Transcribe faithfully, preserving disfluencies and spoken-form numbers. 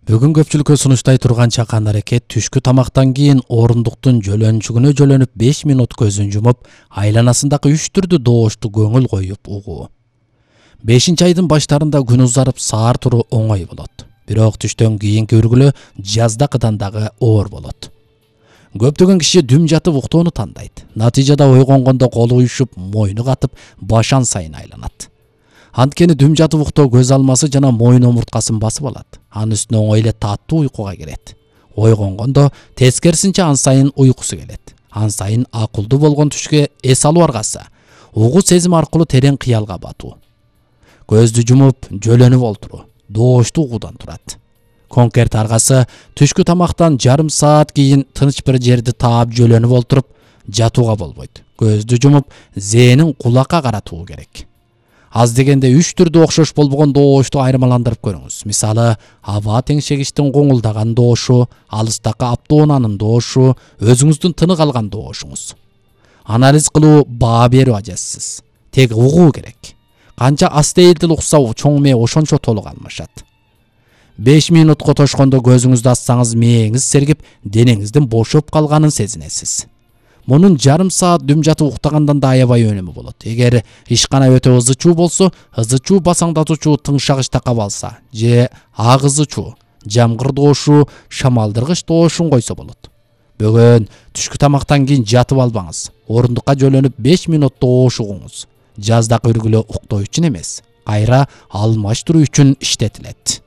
Бүгүн көпчүлүккө сунуштай турган чакан аракет түшкү тамактан кийин орундуктун жөлөнчүгүнө жөлөнүп беш минут көзүн жумуп, айланасындагы үч түрдүү добушту көңүл коюп угуу. бешинчи айдын баштарында күн узарып саар туруу оңой болот. Бирок түштөн кийинки үргүлө жаздакыдан дагы оор болот. Көптөгөн киши дүм жатып уктоону тандайт. Натыйжада ойгонгондо колу уюшуп, мойну катып, башан сайын айланат. Анткени дүм жатып уктоо көз алмасы жана мойын омурткасын басып алат. Анын үстүнө оңой эле таттуу уйкуга кирет. Ойгонгондо тескерисинче ан сайын уйкусу келет. Ан сайын акылдуу болгон түшкө эс алуу аргасы угуу сезим аркылуу терең кыялга батуу. Көздү жумуп, жөлөнүп олтуруу добушту угуудан турат. Конкерт аргасы түшкү тамактан жарым саат кийин тыныч бир жерди таап жөлөнүп олтуруп жатууга болбойт. Көздү жумуп, зээнин кулакка каратуу керек. Аз дегенде үч түрдүү окшош болбогон добушту айырмаландырып көрүңүз. Мисалы, аба теңшегичтин коңулдаган добушу, алыстакы аптоонанын добушу, өзүңүздүн тынык алган добушуңуз. Анализ кылуу баа берүү ажасыз. Тек угуу керек. Канча астейилдил укса чоң мээ ошончо толук алмашат. беш минутка тошкондо көзүңүздү ачсаңыз мээңиз сергип, денеңиздин бошоп калганын сезинесиз. Мунун жарым саат дүм жатып уктагандан да аябай өнүмү болот. Эгер ишкана өтө ызы чуу болсо, ызы чуу басаңдатуучу тыңшагыч такап алса, же ак ызы чуу, жамгыр добушу, шамалдыргыч добушун койсо болот. Бөгөн түшкү тамактан кийин жатып албаңыз. Орундукка жөлөнүп беш минут добуш угуңуз. Жаздакы үргүлө уктоо үчүн эмес, кайра алмаштыруу үчүн иштетилет.